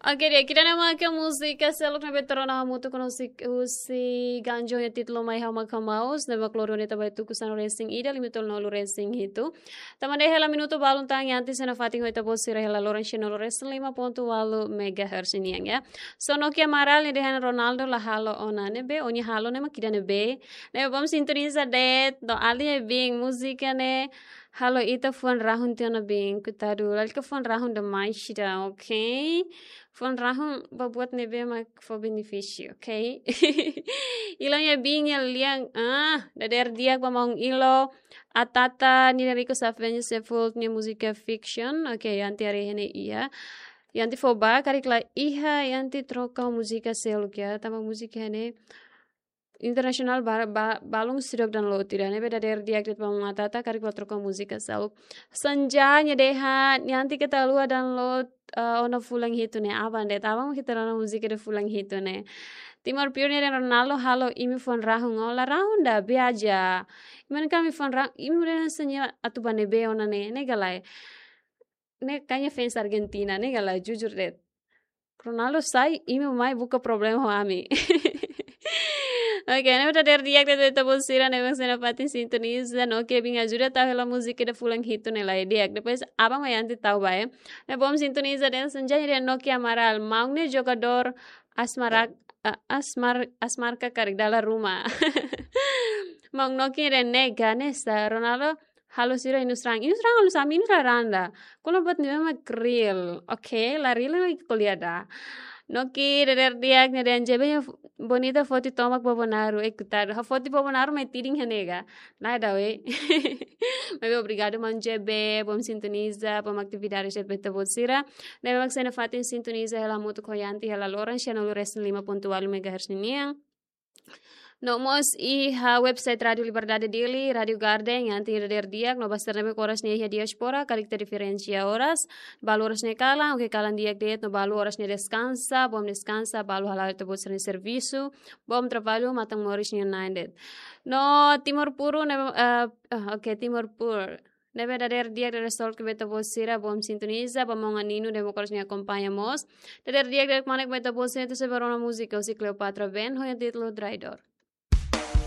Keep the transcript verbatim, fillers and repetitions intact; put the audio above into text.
Oke, di'ak, ida-ne'e mak múzika seluk ne'ebé tuur ona hamutuk ho husi, husi Ganjo nia títulu Mai Ha'u Mak Ha'u Ma'us, ne'ebé mak loron ne'e ita bá tuku sanulu-resin-ida, limite to'o sanulu-resin-hitu. Tanba ne'e hela minutu balun tan, iha antes na fatin ho ita-boot sira hela loron sanulu-resin-lima pontu ualu megahertz nian, ya. So, Nokia Amaral nia dehan Ronaldo la halo ona ne'ebé, ó-nia halo ne'e mak ida-ne'ebé. Ne'ebé bom sintoniza de'it, no alin biin, múzika ne'e halo ita fuan rahun tiha ona biin, koitadu, lalika fuan rahun demais ida, oke? Fuan rahun ba buat ne'ebé mak fó benefísiu, oke? Ilo nia biin nia lian, ah, dadeer di'ak ba maun Ilo, Atata, Nina Rico Safvenio Sefold nia múzika Fiction, oke, iha antes haree iha ne'e iha. Iha antes fó ba, karik la iha, iha antes troka múzika seluk ya, tanba múzika ne'e internasionál ba-, ba-, balun seidauk download ida, ne'ebé dadeer di'ak de'it ba maun Atata, karik la troka múzika seluk. Sanja nia dehan, nia antes keta haluha download, eh, ona fulan hitu ne'e, aban de'it, aban mak keta rona múzika ida fulan hitu ne'e. Timor Pure nia dehan Ronaldo halo imi fuan rahun, ó la rahun ida, be aja. Imi hanoin katak imi fuan rahun, imi dehan Sanja atu bá ne'ebé ona ne'e, ne'e ka lae. Ne'e kayaknya fans Argentina, ne'e ka lae, jujur de'it. Ronaldo sai, imi mai buka problema ho ami. Oke, ne'e mak dadeer di'ak de'it ba ita-boot sira ne'ebé mak sei nafatin sintoniza, no ke bin ajuda tau hela múzika ida fulan hitu ne'e lai di'ak. Depois, aban mak iha antes tau ba, eh. Ne'ebé bom sintoniza de'it Sanja nia dehan Nokia Amaral, maun ne'e jogadór Asmarak, eh, Asmar-, Asmarka karik dala ruma. Maun Nokia nia dehan ne'e ka, ne'e sá, Ronaldo halo sira inus rahun. Inus rahun halo sá, imi inus la rahun ida. Ko'alia buat ne'ebé mak real. Oke, la real mak ko'alia ida. Nokia dadeer di'ak nia dehan J B nia f-, bonita foti tomak Bobonaro, eh, koitadu. Ha'u foti Bobonaro mai tidin iha ne'e ka. Lae ida, weh. Maibé obrigadu maun J B, bom sintoniza, bom atividade de'it ba ita-boot sira. Ne'ebé mak sei nafatin sintoniza hela hamutuk ho iha antes hela loron sanulu-resin-lima pontu ualu megahertz ninian. No mós iha website Rádio Liberdade Dili, Rádio Garden, iha antes dadeer di'ak, no ba sira ne'ebé mak oras ne'e iha diáspora, karik ita diferensia oras, balu oras ne'e kalan, oke kalan di'ak de'it, no balu oras ne'e deskansa, bom deskansa, balu hala'o ita-boot sira-nia servisu, bom traballu, matan moris nia na'in de'it. No Timor Puru, ne'e, eh, ah, oke, Timor Puru. Ne'ebé dadeer di'ak dadeer solke ba ita-boot sira, bom sintoniza, ba maun Anino, ne'ebé mak oras ne'e akompaña mós. Dadeer di'ak de'it kmanek ba ita-boot sira, ita sei bá rona múzika husi Cleopatra Band, ho nia títulu Traidor.